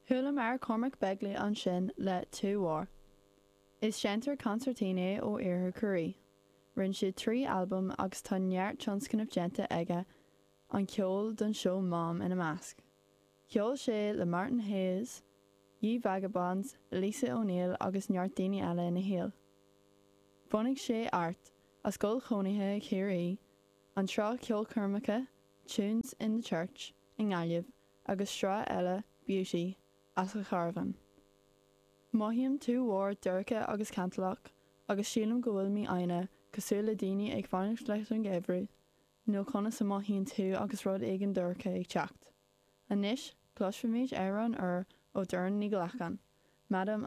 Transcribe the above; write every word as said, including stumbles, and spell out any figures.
Chualamar Cormac Begley ansin le Two War. Is seinnteoir consairtín é ó Iarthar Chiarraí. Rinne sé trí albam agus tá neart tionscnamh déanta aige an ceol don seó Mám ina measc. Cheol sé le Martin Hayes, Ye Vagabonds, Lisa O'Neill agus neart daoine eile ina shaol. Bhunaigh sé Art as scoil chónaithe Chiarraí, an tsraith ceolchoirmeacha Tunes in the Church i nGaillimh agus sraith eile Beauty as a charbhán. Mothaím tuar dorcha agus cantalach agus sílim go bhfuil mé aine cosúil le daoine ag fanacht leis an gheimhreadh, nó conas a mothaíonn tú agus rud éigin dorcha ag teacht. Anois cloisfimid amhrán úr ó Doireann Ní Ghlacáin, Madam